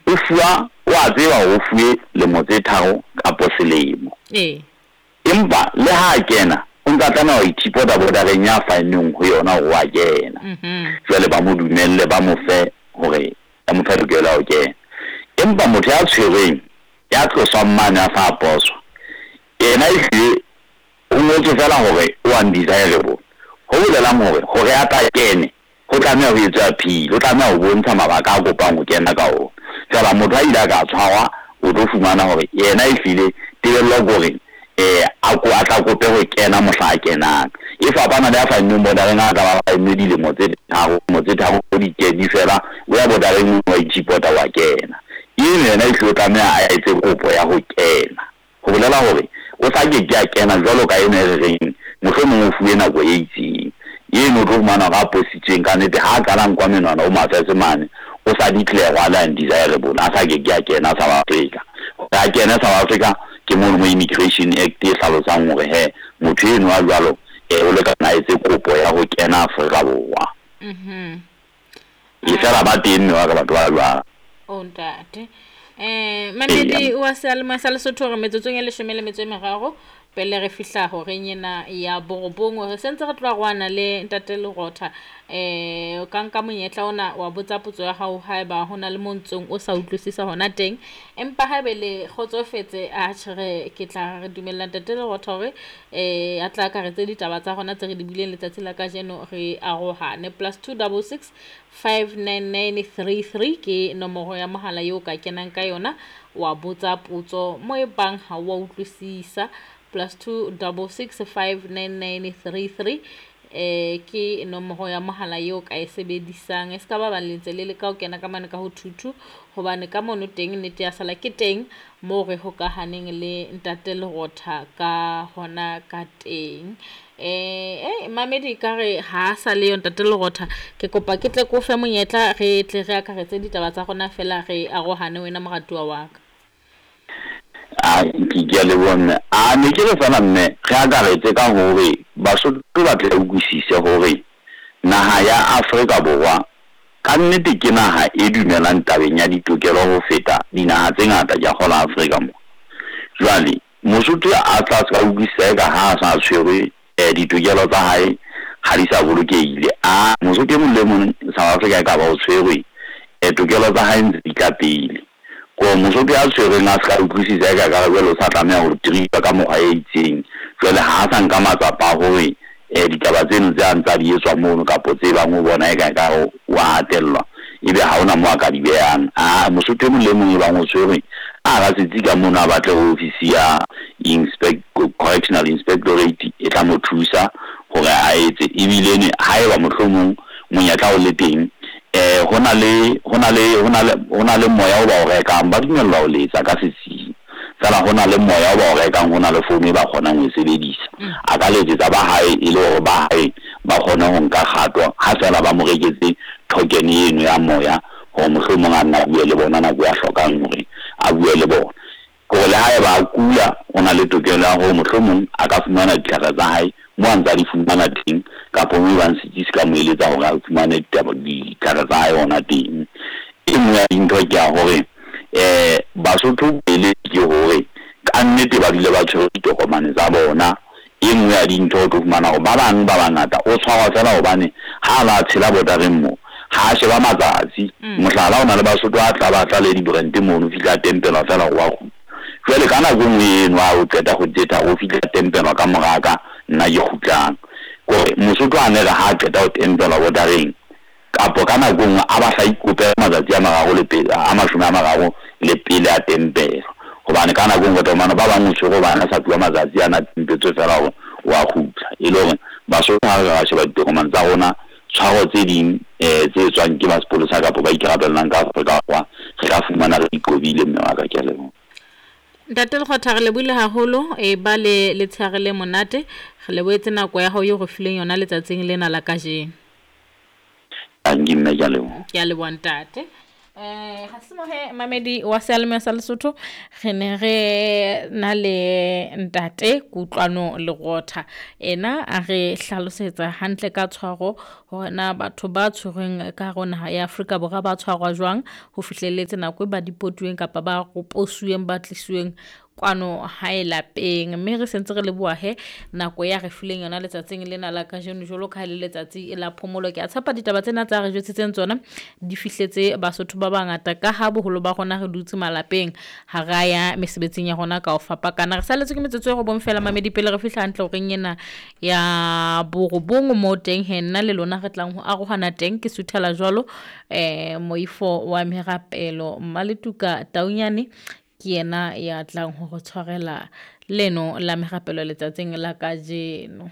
O fuwa, o a tseba hore o fuwe lemo tse tharo kapo selemo. Empa le ha a kena, o ntsa tlameha ho ithipota bodareng ya faenweng ho yona hore o a kena. Jwale ba mo dumelle, ba mo fe hore ba mo fe tokelo ya ho kena. Empa motho ya tshwerweng, ya tloswang mane a sa poswa, yena ehlile ho ngotswe feela hore o undesirable. Ho bolelang hore, hore a tla kene, ho tlameha ho etswe appeal, o tlameha ho bontsha mabaka a kopang ho kena ka ona. Feela motho a ile a ka tshwarwa, o tlo fumana hore yena ehlile tebello ke hore a ko a tla kope ho kena mohla a kenang. E fapana le ya faennweng bordereng, a tla ba faennwe dilemo tse tharo, dilemo tse tharo di ke di fela, o ya bordereng wa itshipota wa kena. Eno yena ehlile o tlameha a etse kopo ya ho kena. Ho bolela hore o sa ke ke a kena jwalo ka eno e re reng mohlomong o fuwe nako e itseng. Eno o tlo fumana hore a positsweng ka nnete ha a qala nkwa menwana o mafese mane, o sa declare a le undesirable, a sa ke ke a kena South Africa. Hore a kene South Africa ke mono mo Immigration Act e hlalosang hore he motho eno a jwalo o lekana a etse kopo ya ho kena Afrika Borwa. E fela ba teng mme wa ka batho ba jwalo. O ntate. Mamedi wa seyalemoya sa Lesotho, re metsotsong e leshome le metso e meraro pele re fihla horeng ena ya borobong. Re sentse re tloha roana le ntate Lerotha. O ka nka monyetla ona wa botsa potso ya hao haeba ho na le mo ntsong o sa utlwisisa hona teng. Empa haebe le kgotsofetse, atjhe re ke tla re dumella ntate Lerotha hore a tla akaretse ditaba tsa rona tse re di buileng letsatsi la kajeno, re arohane. +2 66 599 33 ke nomoro ya mohala eo ka kenang ka yona wa botsa potso mo e bang ha wa utlwisisa. +2 66 599 33 ke nomoro ya mohala eo ka e sebedisang. E ska ba ba lentse le leka ho kena ka mane ka ho 22, hobane ka mono teng nnete ya sala ke teng moo re hokahaneng le ntate Lerotha ka hona ka teng. Mamedi ka re ha sa le yo ntate Lerotha, ke kopa ke tle ko fe monyetla re tle re akaretse ditaba tsa rona fela re arohane wena moratuwa wa ka. A ke a leboha mme. A ne ke re fela mme re akaretse ka hore Basotho ba tle utlwisise hore naha ya Afrika Borwa ka nnete ke naha e dumelang tabeng ya ditokelo ho feta dinaha tse ngata ke a kgolwa Afrika mo. Jwale Mosotho a tla ska utlwisisa eka ha a sa tshwerwe ditokelo tsa hae ha di sa bolokehile. A Mosotho e mong le mong South Africa e ka ba o tshwerwe, tokelo tsa hae ntse di tla pele. Ko Mosotho ya tshwerweng a ska utlwisisa eka ka jwale o sa tlameha ho treatwa ka mokgwa e itseng. Jwale ha a sa nka matsapa a hore ditaba tseno tse a ntsa di etswa mono kapo tse bang o bona eka ka wa hatellwa, ebe ha hona moo a ka di behang. A Mosotho e mong le mong e bang o tshwerwe a ra setsi ka mono, a batle ofisi ya correctional inspectorate e tla mo thusa hore a etse. Ebile ne haeba mohlomong monyetla o le teng, hona le hona le hona le hona le moya o ba o rekang, ba dumellwa ho letsa ka setsing. Feela hona le moya o ba o rekang, hona le founu e ba kgonang ho e sebedisa. A ka letsetsa ba hae e le hore ba hae ba kgone ho nka kgato ha feela ba mo reketse token eno ya moya hore mohlomong a nna a bue le bona nako ya hlokang hore a bue le bona. Hore le haeba a kula, o na le tokelo ya hore mohlomong a ka fumana ditlhare tsa hae mo a ntsa di fumana teng, kapa mo ebang setsi se ka mo eletsa hore a fumane ditlhare tsa hae hona teng. E nngwe ya dintho ke ya hore Basotho pele ke hore ka nnete ba dule ba tshwere ditokomane tsa bona. E nngwe ya dintho o tlo fumana hore ba bang ba bangata o tshwarwa fela hobane ha ba tshela bordereng mo ha sheba matsatsi. Mohlala, o na le Basotho a tla batla le di-brand mono, fihla tempelwa fela hore wa kgutla. Jwale ka nako e nngwe eno ha o qeta kgwedi tse tharo, o fihla tempelwa ka moraka nna ke kgutlang. Kore Mosotho a ne re ha qeta ho tempelwa bordereng kapo ka nako e nngwe a ba hla ikopela matsatsi a mararo le pele a mashome a mararo le pele a tempelwa. Hobane ka nako e nngwe o ba bang o tshwere hobane a sa fuwa matsatsi ana tempetswe fela hore wa kgutla. E le hore Basotho ha re ka sheba ditokomane tsa rona, tshwaro tse ding tse etswang ke ba sepolesa kapa ba ikarabellang ka Afrika Borwa, re ka fumana re iqobile mme wa ka, ke a leboha. Ntate Lekgotha, re lebohile haholo, e ba le letshehare le monate. Re lebohetse nako ya hao eo re fileng yona letsatsing lena la kajeno. Tanki mme, ke a leboha. Ke a leboha ntate. Ga se mohe mamedi wa seyalemoya sa Lesotho, re ne re na le ntate Kutlwano Lerotha, ena a re hlalosetsa hantle ka tshwaro hore na batho ba tshwerweng ka hare ho naha ya Afrika Borwa ba tshwarwa jwang ho fihlelletse nako e ba dipotuweng kapa ba roposuweng ba tlisuweng kwano hae lapeng. Mme re sentse re leboha he nako ya re fileng yona letsatsing lena la kajeno, jwalo ka ha le letsatsi la phomolo. Ke a tshepa ditaba tsena tsa re jwetsitseng tsona di fihletse Basotho ba bangata, ka ha boholo ba rona re dutse malapeng, ha ra ya mesebetsing ya rona ka ho fapakana. Re saletswe ke metsotso e robong fela mamedi pele re fihla hantle horeng ena ya borobong, moo teng he nna le lona re tlang ho arohana teng. Ke suthela jwalo moifo wa merapelo Mmaletuka Taunyane ke yena ya tlang ho re tshwarela leno la merapelo letsatsing la kajeno.